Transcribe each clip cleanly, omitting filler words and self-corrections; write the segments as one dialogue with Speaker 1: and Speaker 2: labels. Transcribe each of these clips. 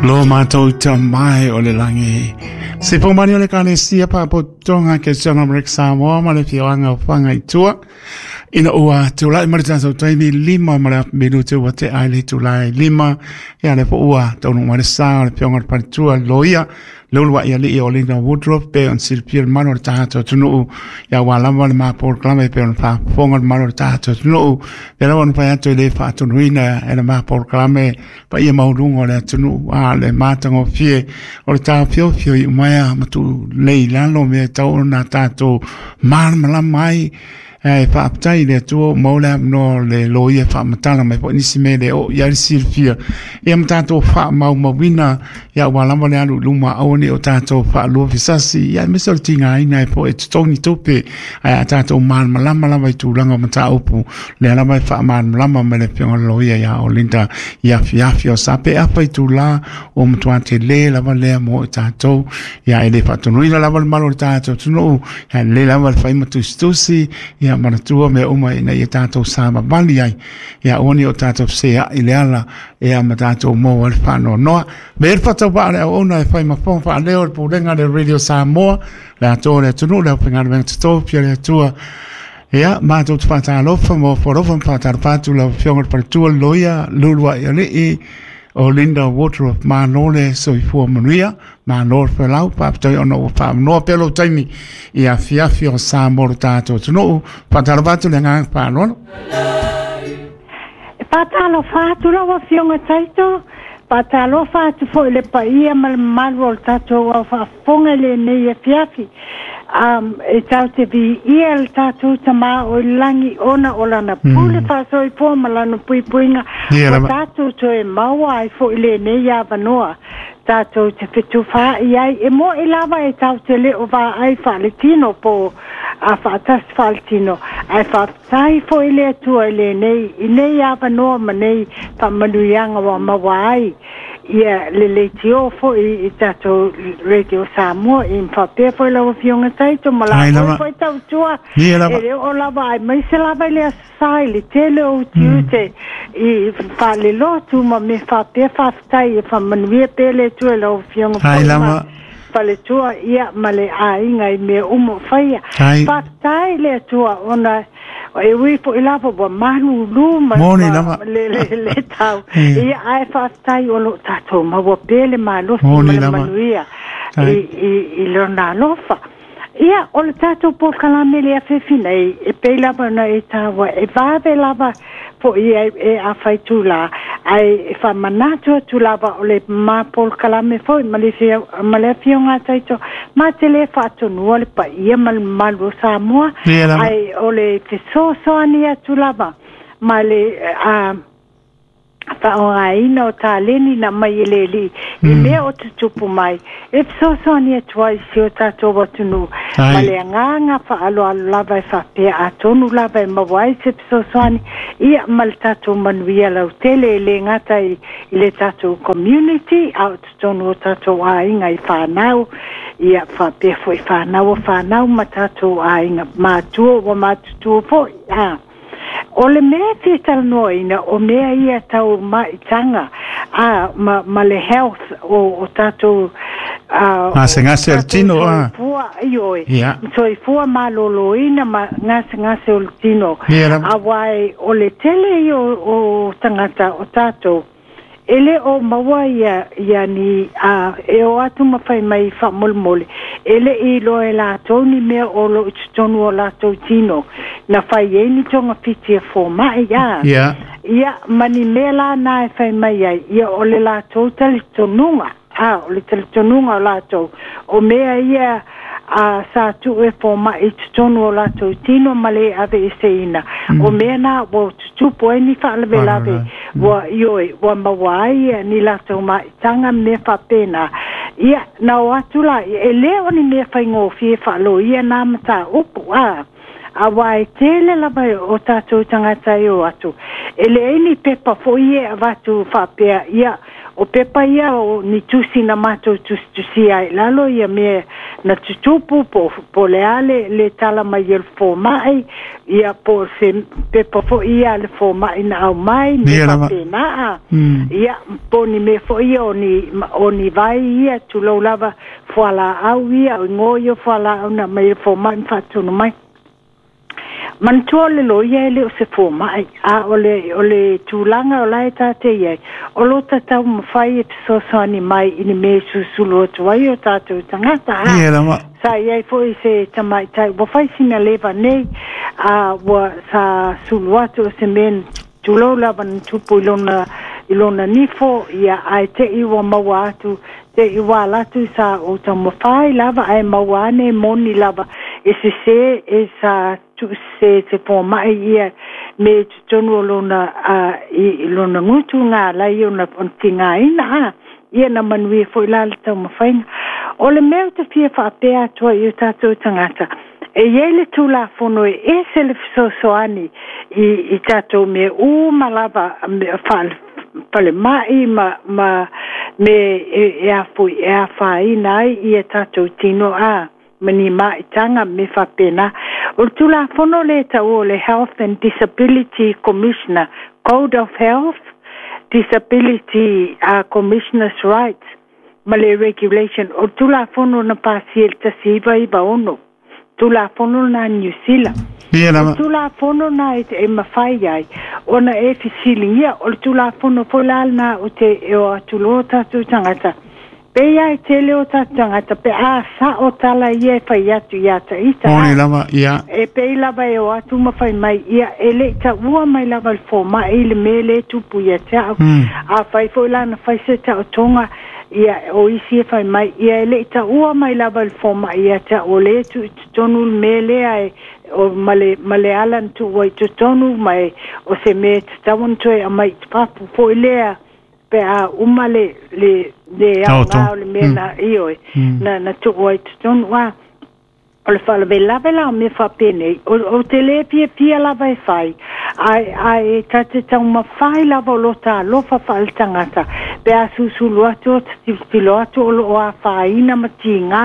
Speaker 1: Lo mātou tamai o le langi. Se pōmani o le Ekalesia Pāpotoga Keristiano Amerika Samoa ma le afioaga o Fagaitua. Ina ua tulai mai le tatou taimi 5 ma le afa minute ua tea ai le itula e 5. Ia lea foi ua taunuu mai le sa o le Afioga i le Faletua le Loia le uluai alii o Linda Woodruff pe ona silafia le mamalu o le tatou atunuu ia aua lava le ma polokalame pe ona faafofoga le mamalu o le tatou atunuu. Pei lava ona fai atu e le faatonuina e le ma polokalame paia maualuga o le atunuu a le matagofie o le taofiofio i umaea ma tuulei i lalo mea e tatau ona tatou malamalama ai. Ae faafetai i le Atua ua maua le avanoa o le loia e faamatala mai foi nisi mea e le oo i ai le silafia ia ma tatou faamaumauina ia aua lava le alu i luma aua ne i o tatou faaluafesasi ia aemaise o le tigaina ai foi e totogi tupe ae a tatou malamalama lava i tulaga o mataupu lea lava e faamalamalama mai le Afioga i le Loia ia Olinda i afiafi o Sape afa itula ua matua tele lava lea mo i tatou ia e le faatonuina lava le mamalu o le tatou atunuu ia lelei lava le fai ma tusitusi ia manatua mea uma ina ia tatou savavali ai ia aua ne i o tatou feseai i le ala ia ma tatou maua ai le faanoanoa. Me le faatauvaa o le auauna e fai ma fofoga faaleo o le Pulega a le Radio Samoa, le atoa o le atunuu, le aufaigaluega totofi a le Atua. Ia, matou te faatalofa ma ofo alofa ma faatalofa atu lau Afioga i le Faletua le Loia Luluai Alii o Linda Woodruff. Malo le soifua manuia, malo le felau, faafetai ona ua faamanoa pea lou taimi i afiafi o Samoa lo tatou atunuu. Faatalofa atu le agaga faaaloalo.
Speaker 2: E faatalofa atu lau Afioga Taito, faatalofa atu foi i le paia ma le mamalu o le tatou au faafofoga i lenei afiafi. E tatou te viia le tatou Tama o i le lagi ona o lana pule faasoifua ma lana puipuiga ua tatou toe maua ai foi lenei avanoa tatou te fetufaai ai. E mo'i lava e tatou te le o vaai faaletino po o faatasi faaletino, ae faafetai foi i le Atua i lenei, i nei avanoa ma nei faamanuiaga ua maua ai ia le leitio foi i tatou Radio Samoa i faapea foi lau Afioga Taito ma la foi foi tautua e le oo lava aemaise lava i le Aso Sa i le tele o utiute i faalelotu ma mea faapea. Faafetai e faamanuia pea le Atua i lau Afioga foi ma faletua ia ma le aiga i mea uma o faia. Faafetai le Atua ona e ui foi lava ua malulu ma, ma le, le, le tau ia, ae faafetai o lo o tatou maua pea le malosi ma le manuia i lona alofa. Ia, o le tatou polokalame le afiafi nei, e pei lava ona e taua, e vave lava foi e, e a itula, ae e faamanatu atu lava o le ma polokalame foi ma le, ma le afioga a Taito, ma te le faatonua le paia ma le mamalu o Samoa, ae o le fesoasoani atu lava ma le a, faaaogaina o taleni na aumai e le Alii i mea o tutupu mai, e fesoasoani atu ai i si o tatou atunuu, ma le agaga faaaloalo lava e faapea atonu lava e maua ai se fesoasoani, ia ma le tatou manuia lautele, e le gata i le tatou community, a o totonu o tatou aiga i whanau, ia faapea foi whanau o whanau ma tatou aiga matua ua matutua foi. A. O le mea e fia talanoaina, o mea ia tau maitaga a, ma, ma le health o, o tatou
Speaker 1: a, gasegase o le tino a.
Speaker 2: Soifua, ioe, yeah. Soifua malōlōina ma gasegase o le tino. Yeah, Aua e, o le tele ia o, o tagata o tatou, E le o maua ia, ia ni, a e o atu ma fai mai faamolemole, e le i iloa e latou ni mea o lo o i totonu o latou tino, na fai ai ni togafiti a fomai, a,
Speaker 1: yeah.
Speaker 2: Ia, ma ni mea la na e fai mai ai, ia o le latou talitonuga, a, o le talitonuga o latou, o mea ia a sa tuu e fomai i totonu o latou tino ma le aveeseina, o mea na ua tutupu ai ni faalavelave, ua, ioe, ua maua ai ni latou maitaga ma mea faapena. Ia, na o atu la, e le o ni mea faigofie faaloia na mataupu, a. Auā e tele lava o tatou tagata e o atu, e leai ni pepa foi e avatu faapea, ia, o pepa ia o ni tusi na matou tusitusia ai i lalo ia mea na tutupu po, po o le a le, le tala mai e le fomai, ia po o se pepa foi ia a le fomai na aumai, mea faapena a. Ia, po o ni mea foi ia o ni, o ni vai ia, tulou lava, fualaau ia, o igoa ia o fualaau na aumai e le fomai ma faatonu mai. Manatua o le loia e le o se fomai, a o le, o le tulaga o la e ta te i ai, o lo ta taumafai e fesoasoani mai i ni mea e susulu atu ai o tatou tagata. A,
Speaker 1: Ia lava.
Speaker 2: sa i ai foi se tamaitai ua fai sina leva nei, a ua sa sulu atu o se mea tulou lava na tupu i lona, i lona nifo, ia, ae te i ua maua atu, te i ua ala atu sa ou taumafai lava ae maua ane e moni lava e sesē e sa tuusesē e te fomai ia me i totonu o lona, a, i lona gutu nga ala ai ona, ona tigaina, a, ia na manuia foi la le taumafaiga. O le mea ou te fia faapea atu ai i o tatou tagata, e i ai le Tulafono e ese le fesoasoani i, i tatou mea uma lava, mea faale, falemai ma, ma me e, e, afui, e afaina ai ia tatou tino a ma ni maitaga me faapena. O le Tulafono le taua o le Health and Disability Commissioner, Code of Health, Disability Commissioner's Rights ma le Regulation, o le Tulafono na pasia i le 1996, Tulafono na Niu Sila.
Speaker 1: Ia
Speaker 2: O le
Speaker 1: lava.
Speaker 2: Tulafono na e, e mafai ai ona e fesiligia, o le Tulafono foi la lena o te e o atu loa tatou tagata. Pei lava e tele o tatou tagata pe a sao tala ia e fai atu iā taita
Speaker 1: Moni
Speaker 2: a.
Speaker 1: lava, ia.
Speaker 2: E pei lava e o atu ma fai mai, ia, e le i taua mai lava e le fomai le mea lea e tupu ia te au. Afai foi la na fai se taotoga, ia, o isi e fai mai, ia, e le i taua mai lava e le fomai ia te au, o lea e tuu i totonu le mea lea e, o, ma le, ma le ala na tuu ai i totonu, ma e, o se mea e tatau ona toe aumai i fafo foi lea, pe a uma le, le, le aoga o le mea na, ioe, na, na tuu ai i totonu. A, o le faalavelave la o mea faapenei, o, ou te le fiafia lava e fai, ae, ae ta te taumafai lava o lota alofa faaletagata, pe a susulu atu o te tilotilo atu o loo afaina ma tigā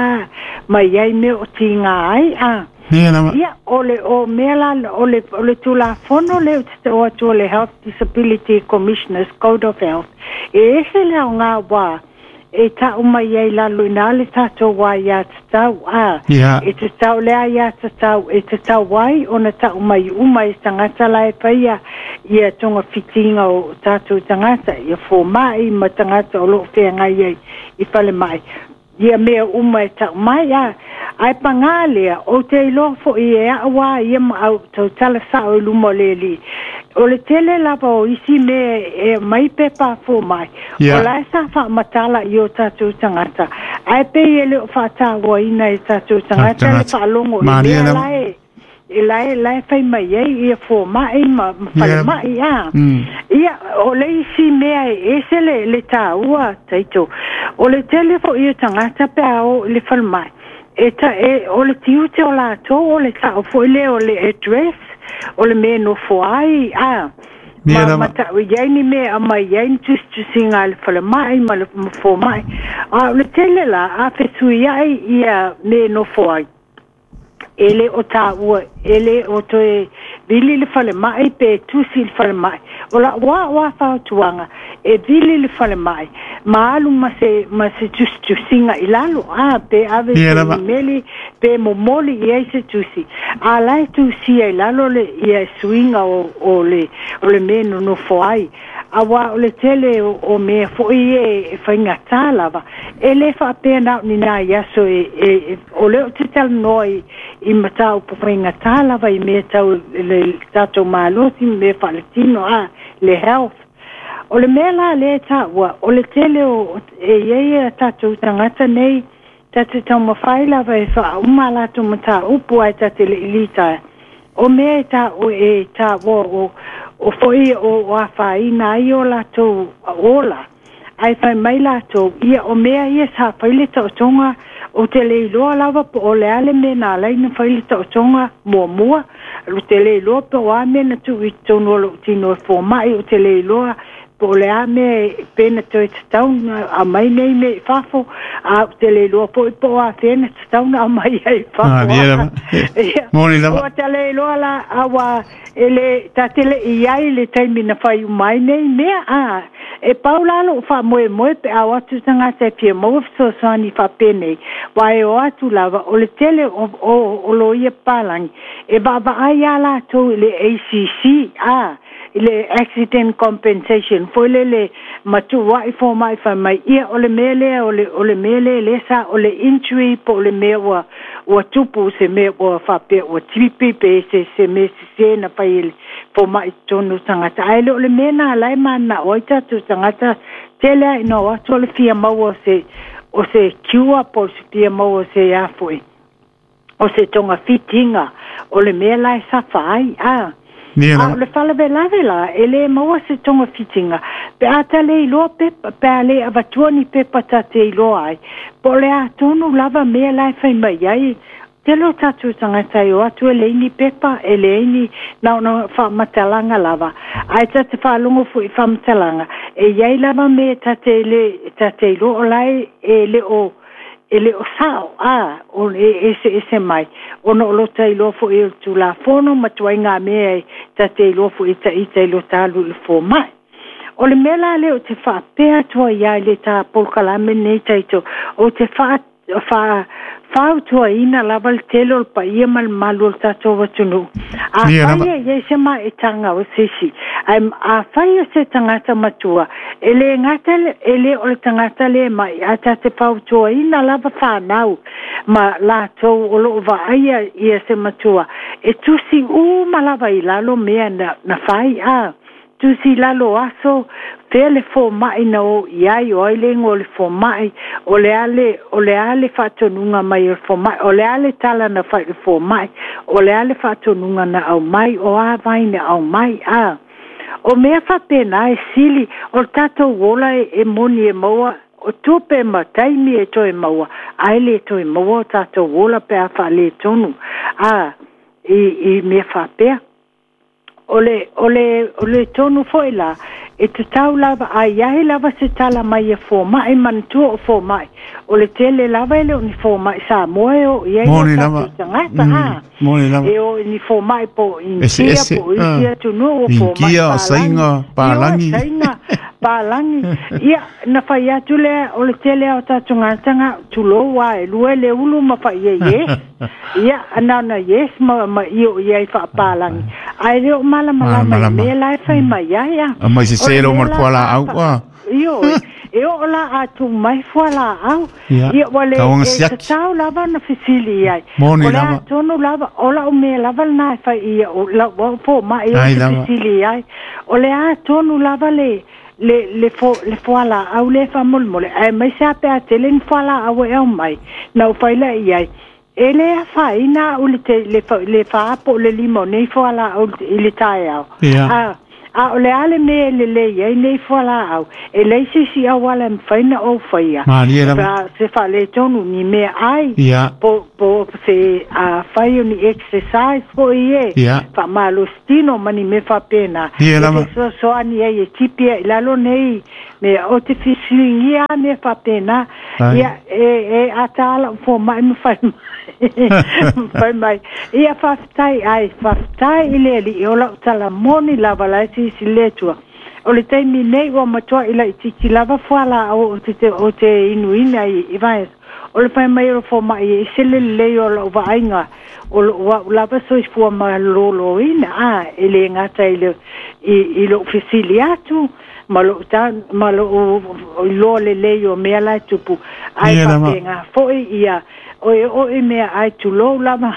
Speaker 2: mai ai mea o tigā ai, a.
Speaker 1: Ia lava.
Speaker 2: Ia, o le, o mea la, o le, o le Tulafono lea ou te tau atu o le Health Disability Commissioners Code of Health, e ese le aoga wā e ta'u mai ai lalo ina le tatou aiā tatau, a.
Speaker 1: Ia.
Speaker 2: E tatau le aiā tatau, e tatau ai ona ta'u mai uma e tagata la e faia ia togafitiga o tatou tagata, ia fomai ma tagata o loo feagai ai i falemai, ia mea uma e ta'u mai, a. Ae pagā lea, ou te iloa fo'i e a'u a ia ma au tautala sa'o i luma o le alii, o le tele lava o isi mea e mai pepa a fomai, o la e sa faamatala i o tatou tagata, ae pei e le o faatauaina e tatou tagata le
Speaker 1: Tagata.
Speaker 2: faalogo i
Speaker 1: Malie
Speaker 2: mea
Speaker 1: lava.
Speaker 2: la e e la e la e fai mai ai ia fomai ma, ma falemai a. Ia, o le isi mea e ese le, le taua taito. O le tele fo'i o tagata pe a o i le falemai. E ta, e, o le tiute o latou o le ta'u foi lea o le address, o le mea e nofo ai, a.
Speaker 1: Ia
Speaker 2: Ma,
Speaker 1: lava.
Speaker 2: ma ta'u i ai ni mea aumai ai ni tusitusiga a le falemai ma le ma fomai. A o le tele la, a fesuia'i ia mea e nofo ai, e le o taua, e le o toe vili le falemai pe tusi le falemai. O la'u a'u a fautuaga, e vili le falemai, ma alu ma se, ma se tusitusiga i lalo, a, pe ave
Speaker 1: Ia
Speaker 2: se
Speaker 1: lava.
Speaker 2: imeli, pe momoli i ai se tusi. A la e tusia i lalo le, ia suiga o, o le, o le mea e nonofo ai. Auā o le tele o, o mea fo'i e, e faigatā lava. E lē faapea na o ni nai aso e, e, e o lea ou te talanoa i, i mataupu faigatā lava i mea tau le tatou malosi ma mea faaletino a, le health. O le mea la lea e taua, o le tele o, e i ai a tatou tagata nei, ta te taumafai lava e faauma a latou mataupu ae ta te le'i litaea. O mea e ta'u e taua o, o fo'i o, o afaina ai o latou ola. Ae fai mai latou, ia o mea ia sa fai le taotoga, ou te le iloa lava po o le a le mea na ala ai ona fai le taotoga muamua. Ou te le iloa po o a mea na tuu i totonu o lou tino e fomai, ou te le iloa po o le a mea pe na toe tatau ona aumai nei mea i fafo, a ou te le iloa foi po o afea na tatau ona aumai ai i fafo.
Speaker 1: Ia, moni lava.
Speaker 2: Ua ta le iloa la, a ua e le ta te le i ai i le taimi na fai uma ai nei mea, a e pau la lou faamoemoe pe a o atu tagata e fia maua fesoasoani faapenei, aua e o atu lava o le tele o, o, o loia papalagi e vaavaai lava latou i le ACC, a i le Accident Compensation foi lele ma tuuai fomai fai mai, ia o le mea lea o le, o le mea lea lea sa o le injury po o le mea ua, ua tupu se mea ua faapea ua tipi pe se, se mea sese na fai e le fomai i totonu o tagata. Ae le o le mea na la e mananao ai tatou tagata tele lava ina o atu o le fia maua o se, o se cure po o se fia maua o se a foi, o se togafitiga o le mea la e safa ai, a. A o le faalavelave la, e le maua se togafitiga pe a ta le iloa pepa, pe a le avatua ni pepa ta te iloa ai, po o le a tonu lava mea la e fai mai ai. Tele o tatou tagata e o atu e leai ni pepa, e leai ni, na ona faamatalaga lava. Ae ta te faalogo foi i faamatalaga, e i ai lava mea ta te le, ta te iloa o la e, e le o, e le o sao, a, o e eseese mai, ona o lo ta iloa foi o le Tulafono ma tuaiga mea e ta te iloa foi e ita i lo ta alu i le fomai. O le mea la lea ou te faapea atu ai ia i le ta polokalame lenei taito, ou te faa, faa, fautuaina lava le tele o le paia ma le mamalu o le tatou atunuu. Afai e i ai se maetaga o se isi, ae afai o se tagata matua, e le gata e le o le tagata le mai, ae ta te fautuaina lava fanau ma latou o loo vaaia ia se matua, e tusi uma lava i lalo mea na, na fai, a tusi i lalo aso, fea le fomai na o i ai, o ai le igoa o le fomai, o le a le, o le a le faatonuga mai o le fomai, o le a le tala na fai i le fomai, o le a le faatonuga na aumai, o a vai na aumai, a. O mea faapena e sili, o le tatou ola e, e moni e maua, o tupe ma taimi e toe maua, ae le toe maua o tatou ola pe a faaletonu, a, i, i mea faapea. O le, o le, o le tonu foi la, e tatau lava, a i ai lava se tala mai e fomai, manatua o fomai, o le tele lava e le o ni fomai Samoa e o i ai o tatou tagata, a.
Speaker 1: Moni lava.
Speaker 2: E o i ni fomai po o Initia, po o isi atunuu, o fomai
Speaker 1: Initia, o Saina,
Speaker 2: Palagi. Ioe, Saina, Palagi. Ia, na fai atu lea, o le tele lava o tatou tagata, tulou lava, e lua le ulu ma fai i ai yes. Ia, na ona yes ma, ma io i ai faapalagi. Ae le o malamalama i mea la e fai mai ai a.
Speaker 1: Aumai sese lo ma le fualaau a.
Speaker 2: Ioe, e oo la a tuu mai fualaau. Ia, ua le e tatau lava ona fesili i ai.
Speaker 1: Moni
Speaker 2: O le a
Speaker 1: lava.
Speaker 2: tonu lava, o lau mea lava lena e fai i au, lau au fomai ou
Speaker 1: Ai
Speaker 2: te
Speaker 1: lava.
Speaker 2: fesili i ai. O le a tonu lava le, le, le, fo, le fualaau lea faamolemole, aemaise lava pe a tele ni fualaau e aumai, na ou fai lea i ai, E le afaina au i le, te, le, le fa po o le lima o nei fualaau i le taeao.
Speaker 1: Ia.
Speaker 2: A, a o le a le mea e lelei ai nei fualaau, e leai se isi auala e mafai ona ou faia.
Speaker 1: Malie lava.
Speaker 2: Pe a se faaletonu ni meaai,
Speaker 1: Ia.
Speaker 2: po, po se a fai o ni exercise foi e,
Speaker 1: Ia.
Speaker 2: faamalositino ma ni mea faapena.
Speaker 1: Ia
Speaker 2: E
Speaker 1: lava.
Speaker 2: fesoasoani ai e tipi ai i lalo nei mea. Ou te fesiligia lava mea faapena.
Speaker 1: Ai.
Speaker 2: Ia, e, e ata lava lau fomai ma fai mai. Fai mai, ia faafetai ai, faafetai i le Alii, o lau tala moni lava la e silasila le Atua. O le taimi nei ua matuai laitiiti lava fualaau ou te, ou te inuina i, i vaiaso. O le fai mai o le fomai e ese le lelei o lau vaaiga, o lou au lava soifua maloloina, a, e le gata i le, i, i lou fesili atu, ma lou ta, ma lou iloa lelei o mea la e tupu, ae
Speaker 1: Ia lava.
Speaker 2: faapena foi ia, o e oo i meaai tulou lava.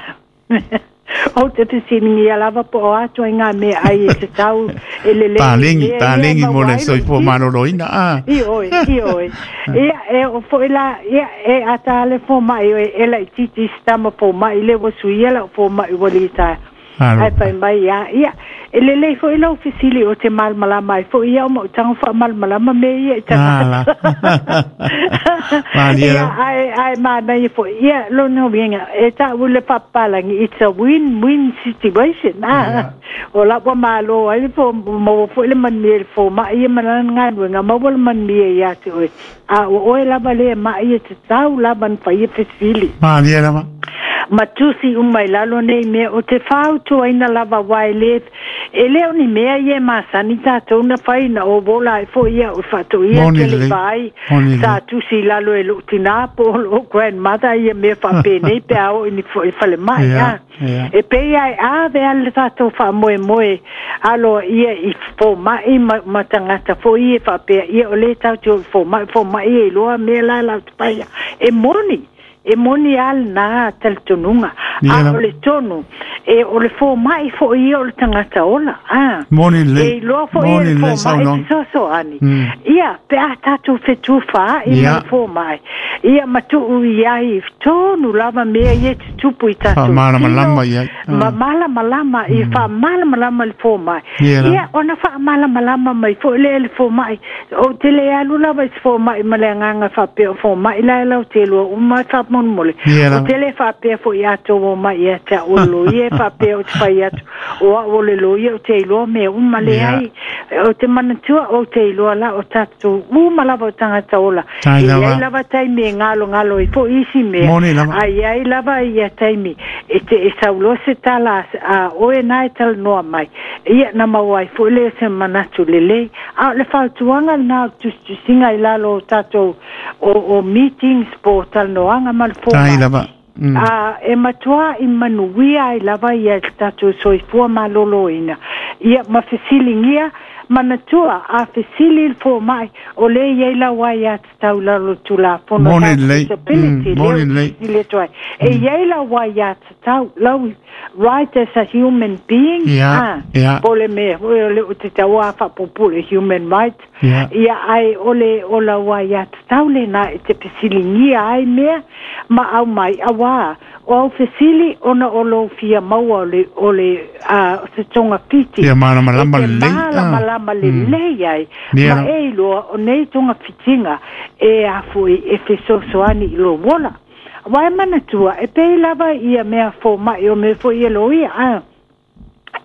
Speaker 2: Ou te fesiligia lava po o a ituaiga meaai e tatau e lelei i
Speaker 1: Paleni,
Speaker 2: mea ia e
Speaker 1: paleni mo
Speaker 2: maua
Speaker 1: le
Speaker 2: ai lou
Speaker 1: soifua
Speaker 2: tino.
Speaker 1: maloloina, a.
Speaker 2: Ioe, ioe. Ia, e oo foi la, ia, e ata lava le fomai e laitiiti i se tama fomai lea ua suia lau fomai ua litaea. Ae fai mai ia, ia, e lelei fo'i lau fesili o te malamalama ai fo'i ia o ma'utaga fa'amalamalama mea ia i tagata. Ia, ae manaia fo'i ia lona uiga e ta'u i le fa'apapalagi, it's a win-win situation, a o la ua mālō ai le fo maua fo'i le manuia i le foma'i ia ma lana galuega, maua le manuia iā te oe, a o oe lava lea ma'i e tatau lava na faia fesili.
Speaker 1: Malie lava.
Speaker 2: Ma tusi uma i lalo nei mea o te fautuaina lava aua e lē e lē o ni mea ia e masani tatou na fai na o wola ai fo'i ia o fa'ato'ia
Speaker 1: Moni
Speaker 2: te le'i
Speaker 1: lelei.
Speaker 2: vaai
Speaker 1: Moni
Speaker 2: sa
Speaker 1: lelei.
Speaker 2: tusi i lalo e lo'u tinā po o lo'u grandmother ia mea fa'apenei pe a oo i ni fo'i falema'i
Speaker 1: Ia,
Speaker 2: a
Speaker 1: ia.
Speaker 2: e pei ai ave ale le tatou fa'amoemoe aloa'ia i foma'i ma tagata fo'i e fa'apea ia o lē tatou o i foma'i foma'i e iloa mea la lau te paia e moni e moni a lenā talitonuga
Speaker 1: Ia
Speaker 2: a o
Speaker 1: lava.
Speaker 2: le tonu e o le foma'i fo'i ia o le tagata ola a
Speaker 1: Moni
Speaker 2: e
Speaker 1: lelei.
Speaker 2: iloa fo'i e
Speaker 1: Moni
Speaker 2: le
Speaker 1: lelei
Speaker 2: foma'i
Speaker 1: saunoaga.
Speaker 2: fesoasoani ia pe a tatou fetufā'i ma
Speaker 1: Ia.
Speaker 2: le foma'i ia ma tu'u i ai tonu lava mea ia e tutupu i tatou tino
Speaker 1: Fa'amalamalama i ai.
Speaker 2: ma
Speaker 1: Ah.
Speaker 2: malamalama i fa'amalamalama le foma'i
Speaker 1: Ia lava.
Speaker 2: ia ona fa'amalamalama mai fo'i lea le foma'i ou te le alu lava i se foma'i ma le agaga fa'apea o foma'i la e lau telua uma e fa'amolemole
Speaker 1: Ia
Speaker 2: o
Speaker 1: lava.
Speaker 2: te le fa'apea fo'i atou o mai ia te a'u o le loia e fa'apea o te fai atu o a'u o le loia o te iloa mea uma
Speaker 1: Ia.
Speaker 2: leai o te manatua ou te iloa la o tatou uma lava o tagata ola
Speaker 1: Tai
Speaker 2: e iai
Speaker 1: lava.
Speaker 2: lava taimi e galogalo ai fo'i isi mea
Speaker 1: Moni lava.
Speaker 2: a iai lava ia taimi e te e sauloa se tala a oe na e talanoa mai ia na maua ai fo'i lea se manatu lelei a o le fautuaga lenā o tusitusiga i lalo o tatou o meetings po o talanoaga ma le
Speaker 1: Tai
Speaker 2: foma'i
Speaker 1: lava.
Speaker 2: A e matuā i manuia ai lava ia le tatou soifua malōlōina ia ma fesiligia manatua a fesili le foma'i o lē iai lau ai iā tatau i lalo tulafono
Speaker 1: Moni
Speaker 2: tatou
Speaker 1: lelei.
Speaker 2: disability lea
Speaker 1: Moni
Speaker 2: ou
Speaker 1: lelei.
Speaker 2: fesili atu ai e iai lau ai iā tatau lau right as a human being
Speaker 1: Ia,
Speaker 2: a
Speaker 1: ia.
Speaker 2: po o le mea fo'i o le o te tauā fa'apupule human rights
Speaker 1: Ia.
Speaker 2: ia ae o le o lau ai iā tatau lenā e te fesiligia ai mea ma au mai auā o au fesili ona o lou fia maua o le o le a se togafiti
Speaker 1: Ia
Speaker 2: e
Speaker 1: malamalama
Speaker 2: te
Speaker 1: lelei. Ah.
Speaker 2: malamalama lelei ai
Speaker 1: Ia
Speaker 2: ma
Speaker 1: lava.
Speaker 2: e iloa o nei togafitiga e afo'i e fesoasoani i lou ola uae manatua e pei lava ia mea foma'i o mea fo'i e loia a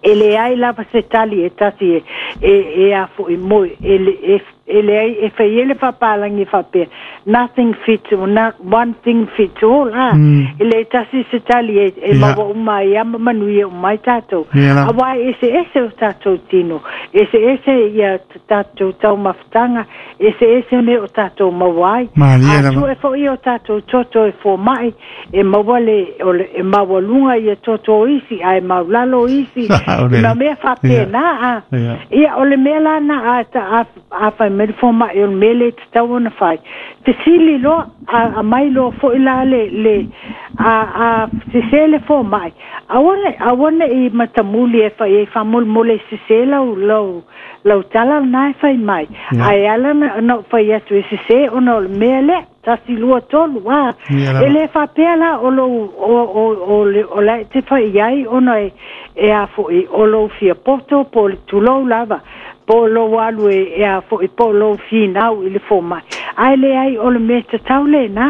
Speaker 2: e leai lava se tali e tasi e e e afo'i moi e le e e leai e fai ai le fa'apalagi fa'apea nothing fits or not one thing fits all a e le tasi se tali e e
Speaker 1: Ia.
Speaker 2: maua uma ai a ma manuia uma ai tatou
Speaker 1: Ia lava.
Speaker 2: auā e eseese o tatou tino eseese ia tatou taumafataga eseese mea o tatou maua ai
Speaker 1: Malie
Speaker 2: a
Speaker 1: lava.
Speaker 2: sue fo'i o tatou toto e foma'i e maua le o le e maualuga ia toto o isi ae maulalo isi
Speaker 1: O le-
Speaker 2: ma mea fa'apena a
Speaker 1: Ia.
Speaker 2: ia o le mea lana a ta a a fai mai le foma'i o le mea le tatau ona fai fesili loa a a mai loa fo'i la le le a a sesē le foma'i aua ne aua ne'i matamuli e fai ai fa'amolemole sesē lau lau lau tala lenā e fai mai
Speaker 1: Ia.
Speaker 2: ae ala na na ou fai atu e sesē ona o le mea lea tasi lua tolu a
Speaker 1: Ia
Speaker 2: e
Speaker 1: lava.
Speaker 2: lē fa'apea la o lou o o o le o la e te fai ai ona e e afo'i o lou fia poto po o le tulou lava po o lou alu e e afo'i po o lou finau i le foma'i ae leai o le mea tatau lenā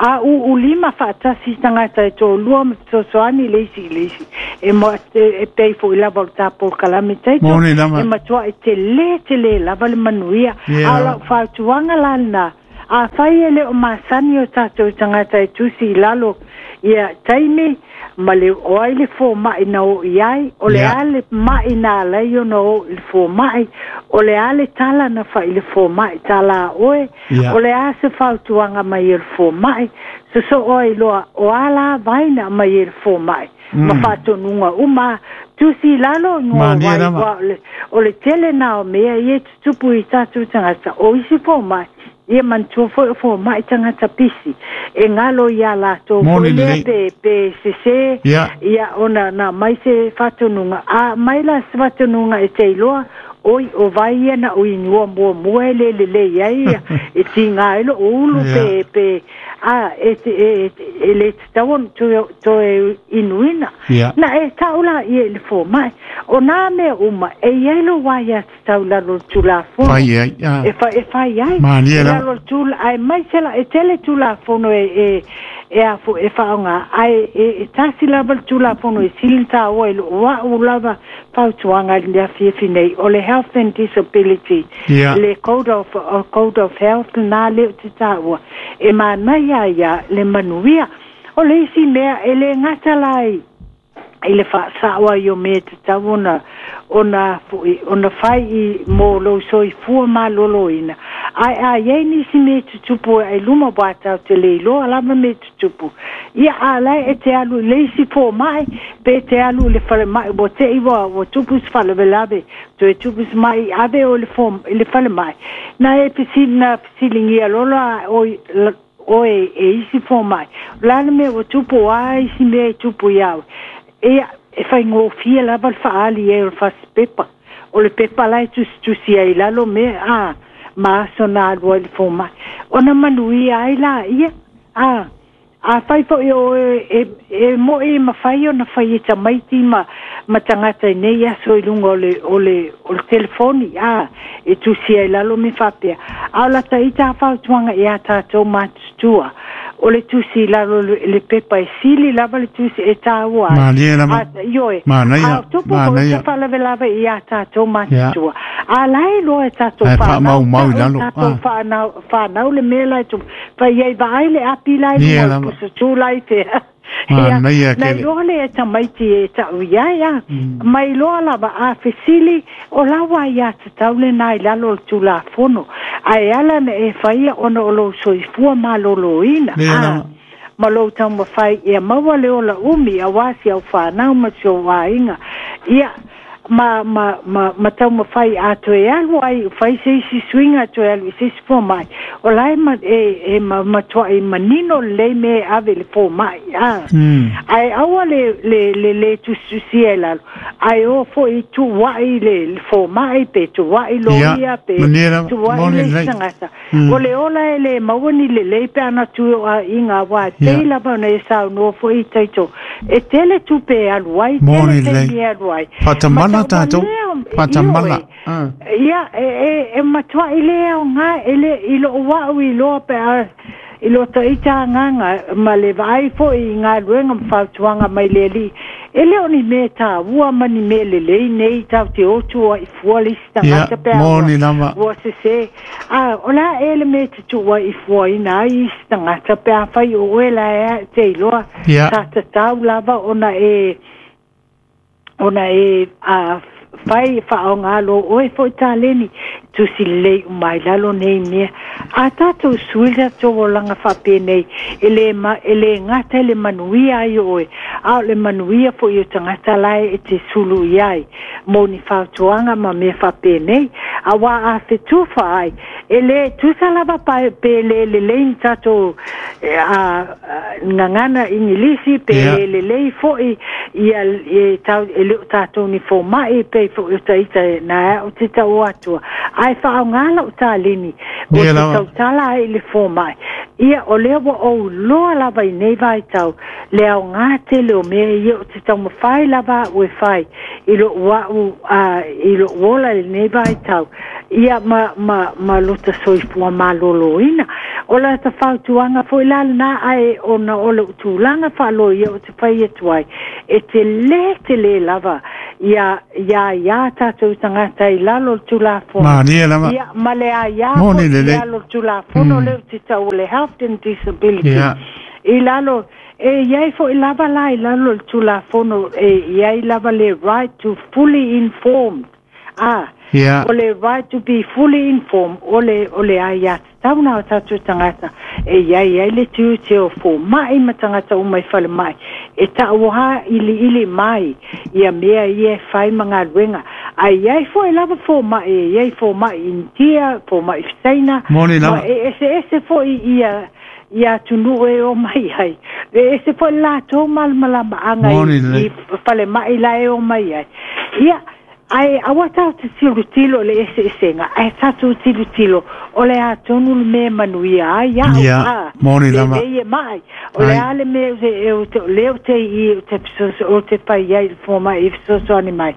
Speaker 2: a u'ulima fa'atasi tagata e to'alua ma fesoasoani le isi i le isi e mo e pei fo'i lava o le tapolokalame taito
Speaker 1: Moni lava.
Speaker 2: e matua'i telē telē lava le manuia
Speaker 1: Ia
Speaker 2: a o
Speaker 1: lava.
Speaker 2: la'u fautuaga la lenā a fai e le o masani o tatou tagata e tusi i lalo ia taimi ma le o ai le foma'i na oo i ai o le
Speaker 1: Ia.
Speaker 2: a le ma'i na alai ona oo i le foma'i o le a le tala na fa'i le foma'i tala a oe
Speaker 1: Ia.
Speaker 2: o le a se fautuaga mai e le foma'i soso'o ai loa o a la vaina mai e le foma'i ma fa'atonuga uma tusi i lalo igoa
Speaker 1: Malie
Speaker 2: vai
Speaker 1: lava.
Speaker 2: ua o le o le tele na o mea ia e tutupu i tatou tagata o isi foma'i ia manatua fo'i o foma'i tagata pisi e galo iā latou
Speaker 1: Moni
Speaker 2: fo'i lea
Speaker 1: lelei.
Speaker 2: pe pe sesē
Speaker 1: Ia.
Speaker 2: ia ona na mai se fa'atonuga a mai la se fa'atonuga e te iloa Oi o vai ia na ui nua mua mua e le le le ia ia e tinga ai lo ulu pe pe a e te e le tatau ona toe inuina. Na e tau la ia i le fomai. O nā mea uma e i ai lo wai a tatau lalo le Tulafono.
Speaker 1: Fai ai.
Speaker 2: E fai ai.
Speaker 1: Malie lava.
Speaker 2: Lalo le tula, ai mai se la, e tele Tulafono e e afu e whaonga. Ai e tasi lava le Tulafono e sili tāua i lo wa'u lava fautuaga i le afiafi nei. O le Health and Disability. Le Code of Health nā leo te tāua. E manaia ia le manuia. O le isi mea e le ngata lai i le whaasawa i o me te tau ona ona whai i mō lou soifua malōlōina. Ai a iai nisi me tutupu e luma wā tau te leiloa lava me tutupu. Ia a lai e te alu le isi fomai, pe te alu le falemai, ua te iwa ua tupu se faalavelave, toe tupu se mai ave o le le falemai. Na e fesili na fesiligia lola oe e isi fomai. O le a le mea ua tupu a isi mea e tupu iā oe. Ia, e whaingofia lava le whaali e o le fasipepa. O le pepa lai tusitusi ai lalo me a ma aso na alua i le fomai. Ona manuia ai la ia. A whai foi o e mo e mawhai o na whai e tamaiti ma tangata i nei aso i lunga o le telefoni. A e tusi ai lalo me whapea. A o lata ita whautuanga i a tātou mātutua. O le tusi lalo le pepa e sili lava le tusi e tāua ai.
Speaker 1: Malie lava.
Speaker 2: Ioe.
Speaker 1: Manaia.
Speaker 2: A tupu ko te whalavelave i a tātou mātutua. A lai loa e tātou
Speaker 1: Ai
Speaker 2: whanau.
Speaker 1: whaamau mau i lalo.
Speaker 2: Tātou whanau le mea lai tupu. Whai ai vaai le api lai
Speaker 1: Nie
Speaker 2: lua
Speaker 1: lava.
Speaker 2: pusa tū lai te.
Speaker 1: Manaia
Speaker 2: Na
Speaker 1: kele.
Speaker 2: iloa le e tamaiti e tau iai a. Mai loa lava a fesili o lawa i a tatau le nai lalo o le Tulafono. Ae ala na e whaia ona o lou soifua malōlōina.
Speaker 1: Le lava.
Speaker 2: Ma lou taumafai ia maua le ola umi a wasi au whanau ma si o wainga. Ia ma taumafai a toe alu ai whai se isi suinga toe alu i se isi fomai. O lai ma e matua i manino le me ave le fomai. Ai aua le tusitusia e lalo. Ai o foi tu wai le fomai pe tu wai loia pe tu wai le sangata. O le ola e le mauani le lei pe ana tu a inga wā. Te lava na e sau no foi taito. E tele tupe alu ai, tele te alu ai.
Speaker 1: Whatamana tātou, whatamana.
Speaker 2: Ia, e matua i le au ngā, e le i lo wau i loa pe a, i lo taita nganga, ma le vai foi i ngā luenga mwhautuanga mai le li. E leo ni me tā ua mani me le lei nei tau te otua i fua le isi tangata pe a ua se se. A, o la e le me te tua i fua ina ai isi tangata pe a whai o e la e te iloa. Tā tatau lava ona e a whai whaongalo oe foi tāleni tusi lei umai lalo nei mea. A tātou suila tō olanga whapēnei e le ngata le manuia ai oe. A o le manuia foi o tangata lai e te sulu iai. Mō ni whautuanga ma mea whapēnei. A wā a whetuwha ai. E le tusa lava pe le le lein tātou ngangana Ingilisi pe le le lei foi ia e tau e le tātou ni fomai pe foi o taita na o te tau atua. Ai whaongala o tālini o te tautala ai le fomai. Ia o lea wa o loa lava i nei vai tau le au ngā tele o mea ia o te taumawhai lava o e whai i lo wau i lo ola i nei vai tau. Ia ma lota soifua malōlōina. O la ta whautuanga foi la nā ai ona o le tūlanga whaalo ia o te whai atu ai. E te le lava ia tātou tangata i lalo le Tulafono.
Speaker 1: Malie lava.
Speaker 2: Ia ma le a ia i lalo le Tulafono leo te tau le Health and Disability. I lalo e iai foi lava la i lalo le Tulafono e iai lava le right to fully informed. O le right to be fully informed o le ai a tauna o tātou tangata e iai ai le tiute o fomai ma tangata o mai whale mai. E tauha ili ili mai ia mea ia e whai mga luenga. Ai iai foi lava fomai e iai fomai India, fomai China.
Speaker 1: Moni lava.
Speaker 2: E ese foi ia ia tunu e o mai ai. E ese foi la tō malmalama anga i whale mai la e o mai ai. Ia Ae aua tatou te tilotilo i le eseesega, ae tatou tilotilo o le a tonu le mea e manuia ai au,
Speaker 1: Ia,
Speaker 2: a,
Speaker 1: moni lava.
Speaker 2: Lelei e ma'i. O le
Speaker 1: Ai.
Speaker 2: a le mea ou te, ou te, lea ou te i i ou te fesoaso, ou te fai ai i le fomai e fesoasoani mai.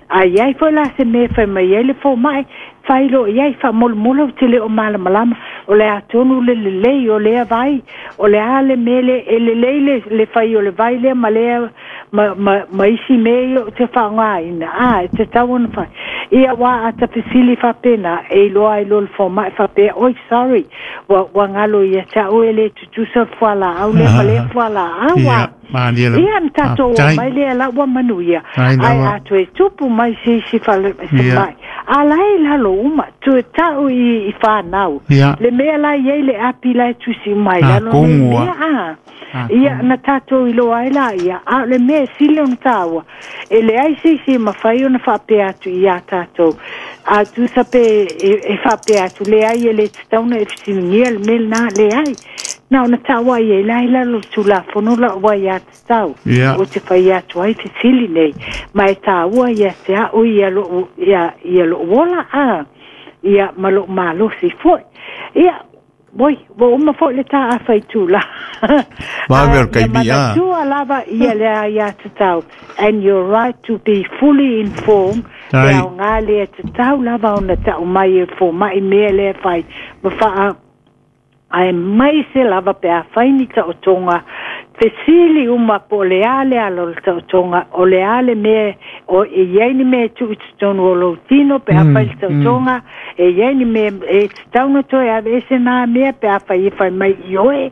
Speaker 2: A i ai foi la se mea e fai mai ai le fomai, fai loa i ai, faamolemole ou te le o malamalama, o le a tonu le lelei o lea vai, o le a le mea lea, e lelei le, le fai o le vai lea ma lea, ma, ma, ma isi mea ia ou te faaaogaina, a, e tatau ona fai. Ia, aua a ta fesili faapena, e iloa ai loa le fomai faapea, oi, sorry, ua, ua galo ia te au e le tutusa le fualaau lea ma lea fualaau,
Speaker 1: Ia,
Speaker 2: a.
Speaker 1: malie lava.
Speaker 2: Ia, na tatou o
Speaker 1: Faafetai.
Speaker 2: mai lea la ua manuia,
Speaker 1: Faafetai
Speaker 2: ae
Speaker 1: lava.
Speaker 2: a toe tupu mai se isi fale, se
Speaker 1: Ia.
Speaker 2: mai, a la e i lalo uma, toe ta'u i, i whānau.
Speaker 1: Ia.
Speaker 2: Le mea la i ai le api la e tusi uma i
Speaker 1: A,
Speaker 2: lalo nei
Speaker 1: kongu
Speaker 2: mea,
Speaker 1: a.
Speaker 2: a.
Speaker 1: A,
Speaker 2: Ia,
Speaker 1: kongu.
Speaker 2: na tātou iloa ai la ia, a o le mea e sili ona tāua, e leai se isi e mafai ona faapea atu iā tātou. A tusa pe e, e faapea atu, leai e le tatau ona e fesiligia le mea lenā, leai. Na ona ta'u ai e la i lalo o le Tulafono la'u aiatatau.
Speaker 1: Ia.
Speaker 2: Ou te fai atu ai fesili nei, ma e tāua ia te a'u ia lo'u, ia, ia lo'u ola, a, ia ma lo'u malosi fo'i. Ia, oi, ua uma fo'i le tā'afa i tula.
Speaker 3: Vave o
Speaker 2: Ae
Speaker 3: le
Speaker 2: ia
Speaker 3: taimi, a.
Speaker 2: manatua lava ia le aiatatau, and your right to be fully informed, le
Speaker 1: Tai.
Speaker 2: aogā lea e tatau lava ona ta'u mai e foma'i mea lea e fai, ma fa'a ae mai se lava pe a fai ni ta'otoga fesili uma po o le a le ala o le ta'otoga o le a le mea o e i ai ni mea e tu'u i totonu o lou tino pe a fai le ta'otoga e i ai ni mea e tatau ona toe aveese nā mea pe a fai e fai mai i oe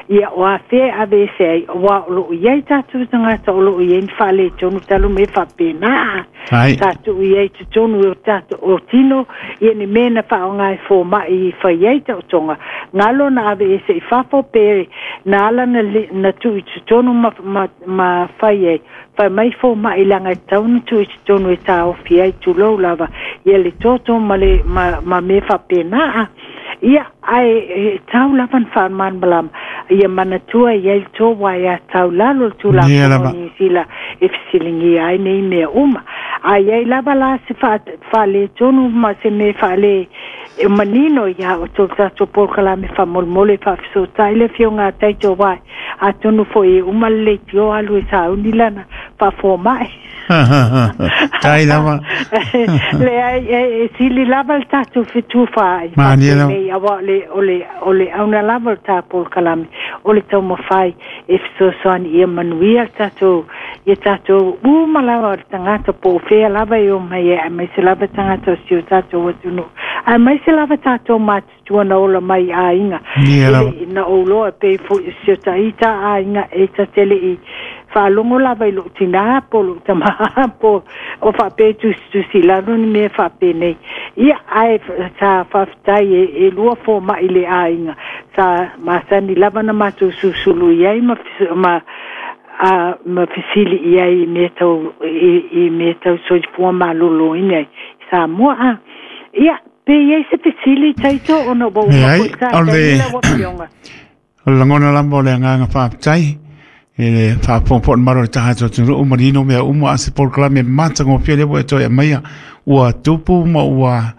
Speaker 2: ia o afea e aveese ai auā o lo'o i ai tatou tagata o lo'o i ai ni faaletonu talu me faapena
Speaker 1: Tai.
Speaker 2: sa tu'u i ai totonu o tatou o tino ia ni mea na faaaogā e foma'i i fai ai ta'otoga galo na aveese i fafo pe na ala na, li, na tu'u i totonu ma, ma, ma fai ai fai mai foma'i laga e tatau ona tu'u i totonu e taofi ai tulou lava ia le toto ma le ma, ma mea faapena ia ae e tau lava na faamalamalama ia manatua i ai le tou aiatatau lalo le
Speaker 1: Ia
Speaker 2: Tulafono
Speaker 1: lava.
Speaker 2: o Niu Sila e fesiligia ai nei mea uma. A i ai lava la se faaletonu ma se mea faale e manino ia o tou tatou polokalame faamolemole e faafesootai le afioga a taito uae atonu fo'i e uma le leitio alu e sauni lana faafoma'i.
Speaker 1: Tai lava.
Speaker 2: Leai e, e sili lava le tatou fetufaai
Speaker 1: Malie lava.
Speaker 2: faapenei auā o le o le o le auna lava o le tā polokalame o le taumafai e fesoasoani ia manuia le tatou ia tatou uma lava o le tagata po o fea lava e o mai ai aemaise lava tagata o si o tatou atunuu aemaise lava tatou matutua na ola mai aiga
Speaker 1: Ia
Speaker 2: e
Speaker 1: lava.
Speaker 2: le na ou loa pei fo'i si o ta'ita aiga e tatele i faalogo lava i lo'u tinā po o lo'u tamā po o faapea tusitusi i lalo ni mea faapenei ia ae sa faafetai e, e lua foma'i le aiga sa masani lava na matou susulu i ai ma, ma a ma fesili i ai i mea tau i, i mea tau soifua malōlōina i Samoa a ia pe i ai se fesili taito ona ua uma
Speaker 1: Leai,
Speaker 2: fo'i
Speaker 1: o
Speaker 2: tātaimi
Speaker 1: le
Speaker 2: lau afioga.
Speaker 1: o le lagona lava o le agaga faafetai e le faafogafoga malo o le tagata o atunuu manino mea uma a se polokalame matagofie lea ua e toe aumaia ua tupu ma ua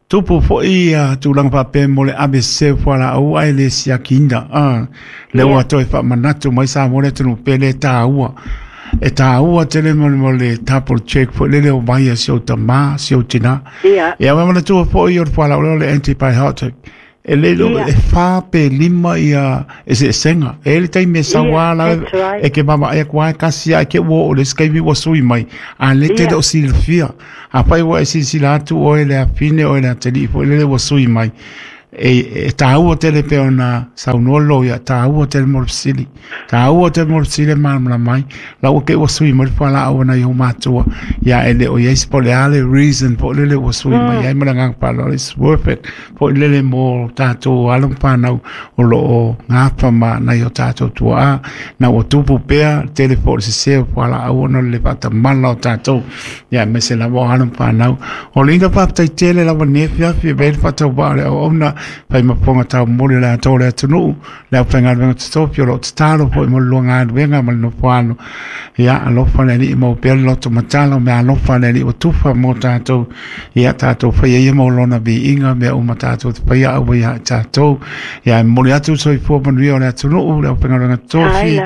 Speaker 1: tupu fo'i ia tulaga faapea mo le ave fualaau ae le siakiina a lea ua
Speaker 2: Ia.
Speaker 1: toe faamanatu mai Samoa le atunuu pea le tāua e tāua tele mo le mo le double check fo'i lele o mai a si ou tamā si ou tinā
Speaker 2: Ia.
Speaker 1: ia ma manatua fo'i o le fualaau lea o le antibiotic e le lo
Speaker 2: Ia.
Speaker 1: e whā pe lima ia e se senga e le taimi e
Speaker 2: Ia,
Speaker 1: sauā la
Speaker 2: that's right.
Speaker 1: e ke mama e kua e kasi a ke ua o le skaimi ua sui mai a le te
Speaker 2: Ia.
Speaker 1: le o silafia a pai ua e silasila atu oe le afine oe le atali'i fo'i lele ua sui mai e, e tāua tele pe ona saunoa lo ia tāua tele mo le fesili tāua tele mo le fesili e malamalama mai la ua ke ua sui mai le fualaau ana i o matua ia e le o iai se po o le a le reason po o lele ua sui mai ai ma le agaga faaaloalo it's worth it po o lele mo tātou alo ma whānau o loo gafa ma nai o tātou tuaā na ua tupu pea tele po o le sesē o fualaau ona o le faatamala o tātou ia aemaise lava o alo ma whānau o le ina faafetai tele lava nei afiafi e vei le faatauvaa o le auauna Fai ma ponga tau moli le atoa le atunuu le aufaigaluega totofi o loo tatalo foi mo le lua galuega ma le nofoano. Ia alofa le Alii mau pea le loto matala o mea alofa le Alii ua tufa mo tatou. Ia tatou faia ia mo lona viiga mea uma tatou te faia aua ia i tatou. Ia e momoli atu le soifua manuia o le atunuu le aufaigaluega totofi.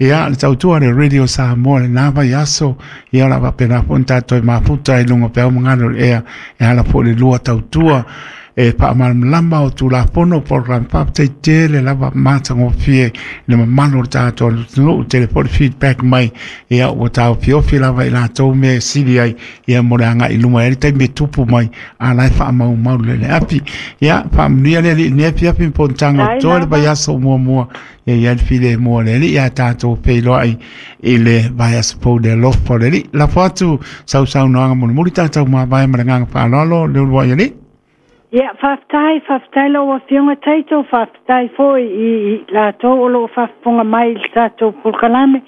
Speaker 1: Ia le tautua le Radio Samoa lena vaiaso. Ia o le a faapena foi ona tatou toe mafuta i luga o peau ma galu o le ea e ala foi i le lua tautua e faamalamalama o Tulafono polokalame. Faafetai tele lava matagofie i le mamalu o le tatou atunuu, tele foi le feedback mai, ia ua taofiofi lava i latou mea e sili ai, ia mo le agai i luma e le taimi e tupu mai, a la e faamaumau le le api. Ia faamanuia le Alii i lenei afiafi ma fonotaga o totoe le vaiaso muamua. Ia i ai le filemu o le Alii ae tatou feiloai i le vaiaso fou i le alofa o le Alii. Lafo atu sau saunoaga mulimuli tatou mavae ma le agaga faaaloalo le uluai Alii.
Speaker 2: Ia, faafetai, faafetai lau Afioga Taito, faafetai foi i latou o lo o faafofoga mai i le tatou polokalame.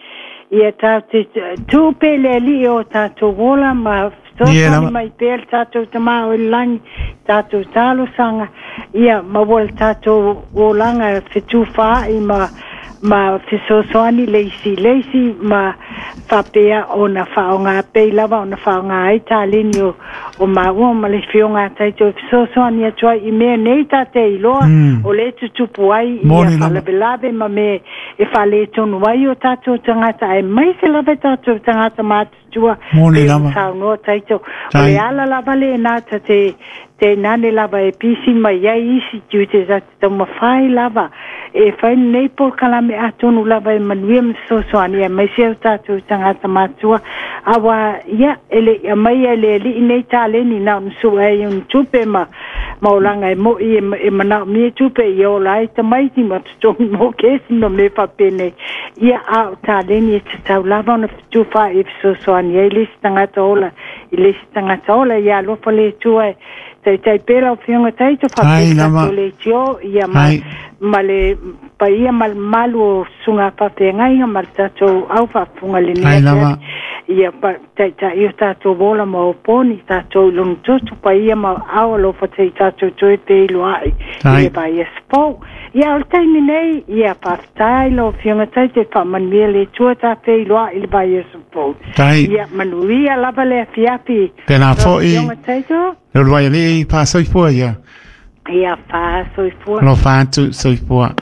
Speaker 2: Ia tatou te tuu pea i le Alii o tatou ola ma fesoasoani mai pea le tatou Tama o i le lagi, tatou talosaga, ia maua le tatou olaga fetufaai ma ma fesoasoani le isi i le isi ma faapea ona faaaoga pei lava ona faaaoga ai taleni o, o maua ma le Afioga a Taito e fesoasoani atu ai i mea nei ta te iloa o le tutupu ai ia faalavelave ma mea e faaletonu ai o tatou tagata aemaise lava i tatou tagata matutua.
Speaker 1: Moni lava.
Speaker 2: Saunoa Taito. O le ala lava lena ta te te nane lava e pisi mai ai isi tiute ta te taumafai lava e fai lenei polokalame atonu lava e manuia ma fesoasoani aemaise o tatou tagata matua aua ia e le i aumaia e le Alii nei taleni na ona sue ai ona tupe ma ma olaga e mo'i e manaomia tupe ia ola ai tamaiti ma totogi mo kesi ma mea faapenei. Ia a o taleni e tatau lava ona fetufaai e fesoasoani ai le isi tagata ola i le isi tagata ola. Ia alofa le Atua e taitai pea lau Afioga Taito faapea le tatou leitio ia ma, ma le paia ma le mamalu o susuga faafeagaiga ma le tatou au faafofoga i lenei afiafi. Ia taitai o tatou ola ma oponi tatou i lona toto paia ma ao alofa se i tatou toe feiloai i le vaiaso fou. Ia o le taimi nei, ia faafetai lau Afioga Taito e faamanuia le Atua ta feiloai i le vaiaso fou. Ia manuia lava le afiafi.
Speaker 1: Tēnā foi. Le uluai alii faasoifua ia.
Speaker 2: Ia faasoifua.
Speaker 1: Alofa atu soifua.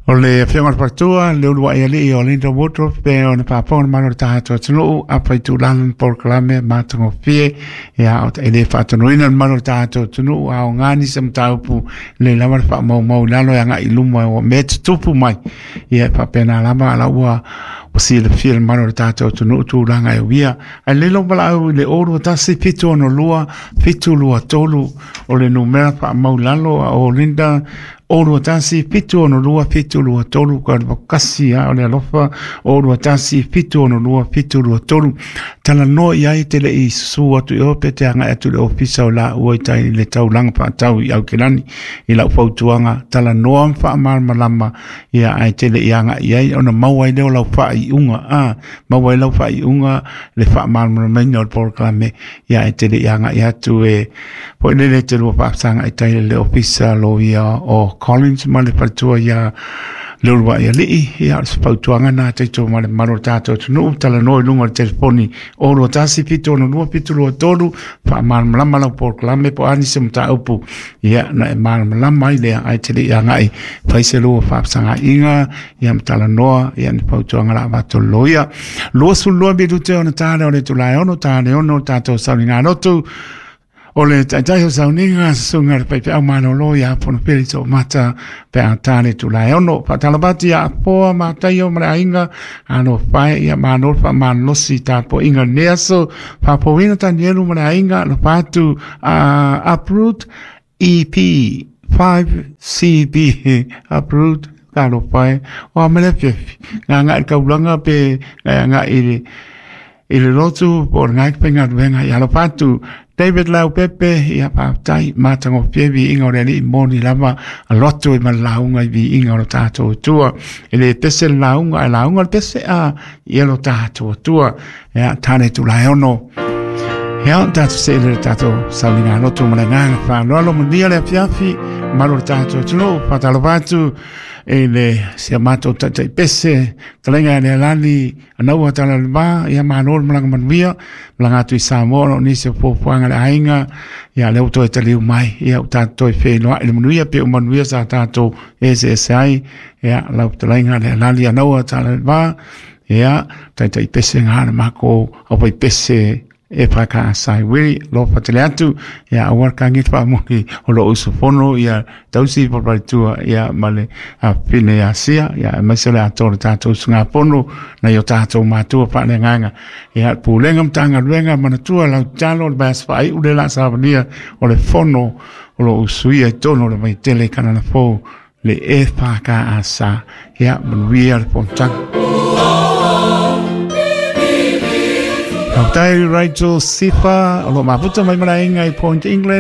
Speaker 1: O le Afioga i le Faletua, le uluai alii o Linda Woodruff, pe ona faafofoga le malo o le tatou atunuu, afa i tulaga ma polokalame matagofie, ia, e le faatonuina le malo o le tatou atunuu, a aoga nisi o mataupu, lelei lava le faamaumau i lalo e agai i luma o mea e tutupu mai. Ia, e faapena lava, a la ua ua silafia le mamalu o le tatou atunuu tulaga e uia. Ae lelei lou valaau i le 021 762 723 o le numera faamau i lalo a o Linda 021 762 723 ka le kasi a o le alofa 021 762 723 talanoa i ai te le i susu atu i o pe te agai atu i le ofisa o laua i tai i le taulaga faatau i Aukilani i lau fautuaga talanoa ma faamalamalama ia ae te le i agai i ai ona maua ai lea o lau faaiuga a maua ai lau faaiuga le faamalamalamaina o le polokalame ia ae te le i agai atu e foi lele te lua faafesagai tai le ofisa loia o Collins ma le faletua ia le uluai alii ia o se fautuaga na taito ma le mamalu o le tatou atunuu talanoa i luga o le telefoni 021 762 723 faamalamalama lau polokalame po o a nisi o mataupu ia na e malamalama ai lea ae te le i agai fai se lua faafesagaiga ia ma talanoa ia ni fautuaga la avatu e le loia. 22 minute ona ta lea o le itula e 6 ta le 6 o le tatou sauniga lotu. O le taitai o sauniga susuga i le faifeau malolo ia Fonopele Toomata pe a ta le itula e 6. Faatalofa atu ia Afoa Mataio ma le aiga alofa e ia malo le faamalolosi tapuaiga i lenei aso. Faafouina Tanielu ma le aiga alofa atu a Uproot EP 5CB Uproot talofa e o a me le afiafi gagai i le taulaga pe agai i le i le lotu po o le ngai faigaluega ia alofa atu David Leaupepe ia faafetai matagofie viiga o le Alii moni lava alo atu ai ma le lauga i viiga o lo tatou Atua e le pese le lauga ae lauga le pese a ia lo tatou Atua ia tane tulae ono. Ia, tatou se'e le tatou sauniga loto ma le agaga faaaloalo. Manuia le afiafi malu o le tatou atunuu. Faatalofa atu i le si a matou taitai pese talega e Lealani anaua tala le va. Ia malo le malaga manuia, malaga atu i Samoa o nisi o fuafuaga le aiga. Ia lea ua toe taliu mai, ia ua tatou toe feiloai le manuia pe o manuia sa tatou eseese ai. Ia lau fetalaiga Lealani anaua tala le va, ia taitai pese ga le mako au pai pese e whaka sai wiri lo fatele atu. Ia aua ka ngi fa mo o lo usufono ia tausi papaitua ia ma le a fine asia ia mai se le ato le tatou usugafono na i o tatou matua faaleagaga. Ia pulega ma Matagaluega manatua lau talo le vaiaso faaiu le la savalia o le fono o lo usuia i tonu o le vaitele kanana fou le e whaka. Ia manuia le fonotaga. Faafetai Rachel Sifa o lo mafuta mai malaega i Point England.